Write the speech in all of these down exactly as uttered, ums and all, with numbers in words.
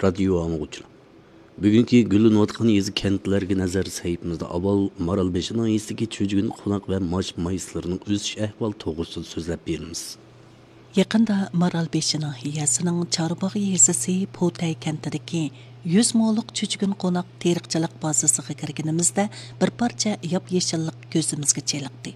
رادىيو ئاڭلىغۇچىلار، بۈگۈنكى گۈللىنىۋاتقان يېزا كەنتلەرگە نەزەر سەھىپىمىزدە ئاۋۋال مارالبېشى ناھىيەسىدىكى چۆجگۈن قوناق ۋە ماش مايسىلىرىنىڭ ئۆسۈش ئەھۋالى توغرىسىدا سۆزلەپ بېرىمىز. يېقىندا مارالبېشى ناھىيەسىنىڭ چارباغ يېزىسى پوتەي كەنتىدىكى يۈز مولۇق چۆجگۈن قوناق تېرىقچىلىق بازىسىغا كىرگىنىمىزدە، بىر پارچە ياپيېشىللىق كۆزىمىزگە چېلىقتى.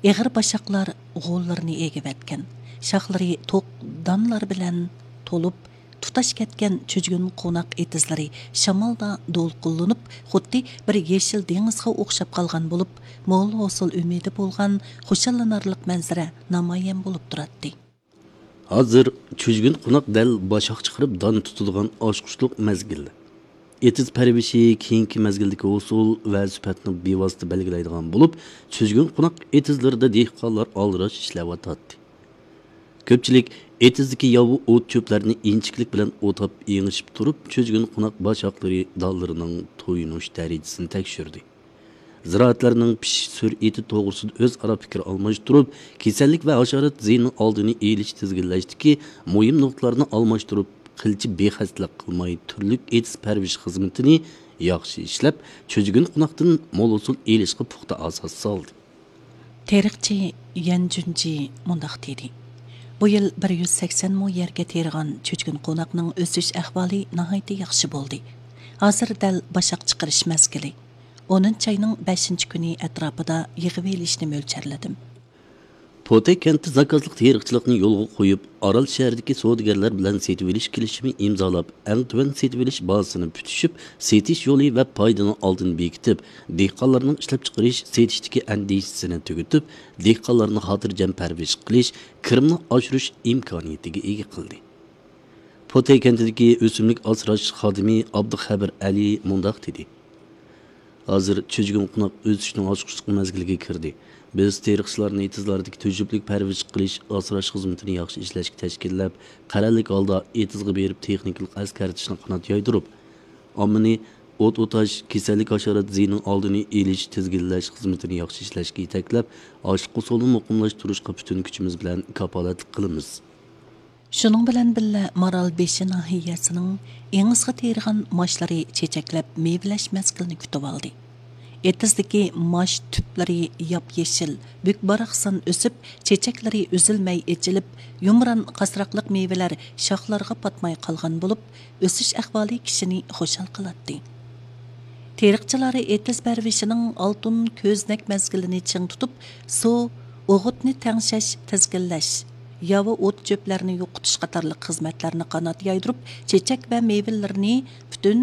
ئېغىر باشاقلار غوللىرىنى ئېگىۋەتكەن، شاخلىرى توق دانلار بىلەن تولۇپ، تۇتاش كەتكەن چۆجگۈن قوناق ئېتىزلىرى شامالدا دولقۇنلىنىپ، خۇددى بىر يېشىل دېڭىزغا ئوخشاپ قالغان بولۇپ، مول ھوسۇل ئۈمىدى بولغان خۇشاللىنارلىق مەنزىرە نامايان بولۇپ تۇراتتى. ھازىر چۆجگۈن قوناق دەل باشاق چىقىرىپ دان تۇتىدىغان ئاچقۇچلۇق مەزگىل. ئېتىز پەرۋىشى كېيىنكى مەزگىلدىكى ھوسۇل ۋە سۈپەتنى بىۋاسىتە بەلگىلەيدىغان بولۇپ، چۆجگۈن قوناق ئېتىزلىرىدا دېھقانلار ئالدىراش ئىشلەۋاتاتتى. كۆپچىلىك ئېتىزدىكى ياۋا ئوت-چۆپلەرنى ئىنچىكىلىك بىلەن ئوتاپ ئېڭىشىپ تۇرۇپ، چۆجگۈن قوناق باشاقلىرى دانلىرىنىڭ تويۇنۇش دەرىجىسىنى تەكشۈردى. زىرائەتلەرنىڭ پىشىش سۈرئىتى توغرىسىدا ئۆزئارا پىكىر ئالماشتۇرۇپ، كېسەللىك ۋە ھاشارات زىيىنىنىڭ ئالدىنى ئېلىش، تىزگىنلەشتىكى مۇھىم نۇقتىلارنى ئالماشتۇرۇپ، قىلچە بىخەستەلىك قىلماي، تۈرلۈك ئېتىز پەرۋىش خىزمىتىنى ياخشى ئىشلەپ، چۆجگۈن قوناقتىن مول ھوسۇل ئېلىشقا پۇختا ئاساس سالدى. تېرىقچى يەن جۈنجى مۇنداق دېدى: بۇ يىل بىر يۈز سەكسەن مو يەرگە تېرىغان چۆجگۈن قوناقنىڭ ئۆسۈش ئەھۋالى ناھايىتى ياخشى بولدى. ھازىر دەل باشاق چىقىرىش مەزگىلى. ئونىنچى ئاينىڭ بەشىنچى كۈنى ئەتراپىدا يىغىۋېلىشنى مۆلچەرلىدىم. پوتەي كەنتى زاكازلىق تېرىقچىلىقنى يولغا قويۇپ، ئارال شەھىرىدىكى سودىگەرلەر بىلەن سېتىۋېلىش كېلىشىمى ئىمزالاپ، ئەڭ تۆۋەن سېتىۋېلىش باھاسىنى پۈتۈشۈپ، سېتىش يولى ۋە پايدىنىڭ ئالدىنى بېكىتىپ، دېھقانلارنىڭ ئىشلەپچىقىرىش، سېتىشتىكى ئەندىشىسىنى تۈگىتىپ، دېھقانلارنى خاتىرجەم پەرۋىش قىلىش، كىرىمنى ئاشۇرۇش ئىمكانىيىتىگە ئىگە قىلدى. پوتەي كەنتىدىكى ئۆسۈملۈك ئاسراش خادىمى ئابدۇخەبىر ئەلى مۇنداق دېدى: ھازىر چۆجگۈن قوناق ئۆسۈشنىڭ ئاچقۇچلۇق مەزگىلىگە كىردى. بىز تېرىقچىلارنى ئېتىزلاردىكى تۈزۈملۈك پەرۋىش قىلىش، ئاسراش خىزمىتىنى ياخشى ئىشلەشكە تەشكىللەپ، قەرەللىك ھالدا ئېتىزغا بېرىپ تېخنىكىلىق ئەسكەرتىشنى قانات يايدۇرۇپ، ئاممىنى ئوت ئوتاش، كېسەللىك ھاشارات زىيىنىنىڭ ئالدىنى ئېلىش، تىزگىنلەش خىزمىتىنى ياخشى ئىشلەشكە يېتەكلەپ، ئاشلىق ھوسۇلىنى مۇقىملاشتۇرۇشقا پۈتۈن كۈچىمىز بىلەن كاپالەتلىك قىلىمىز. شۇنىڭ بىلەن بىللە، مارالبېشى ناھىيەسىنىڭ ئېڭىزغا تېرىغان ماشلىرى چېچەكلەپ، مېۋىلەش مەزگىلىنى كۈتۈۋالدى. ئېتىزدىكى ماش تۈپلىرى ياپيېشىل، بۈك-باراقسان ئۆسۈپ، چېچەكلىرى ئۈزۈلمەي ئېچىلىپ، يۇمران قاسراقلىق مېۋىلەر شاخلارغا پاتماي قالغان بولۇپ، ئۆسۈش ئەھۋالى كىشىنى خۇشال قىلاتتى. تېرىقچىلار ئېتىز پەرۋىشىنىڭ ئالتۇن كۆزنەك مەزگىلىنى چىڭ تۇتۇپ، سۇ، ئوغۇتنى تەڭشەش، تىزگىنلەش، ياۋا ئوت-چۆپلەرنى يوقىتىش قاتارلىق خىزمەتلەرنى قانات يايدۇرۇپ، چېچەك ۋە مېۋىلىرىنى پۈتۈن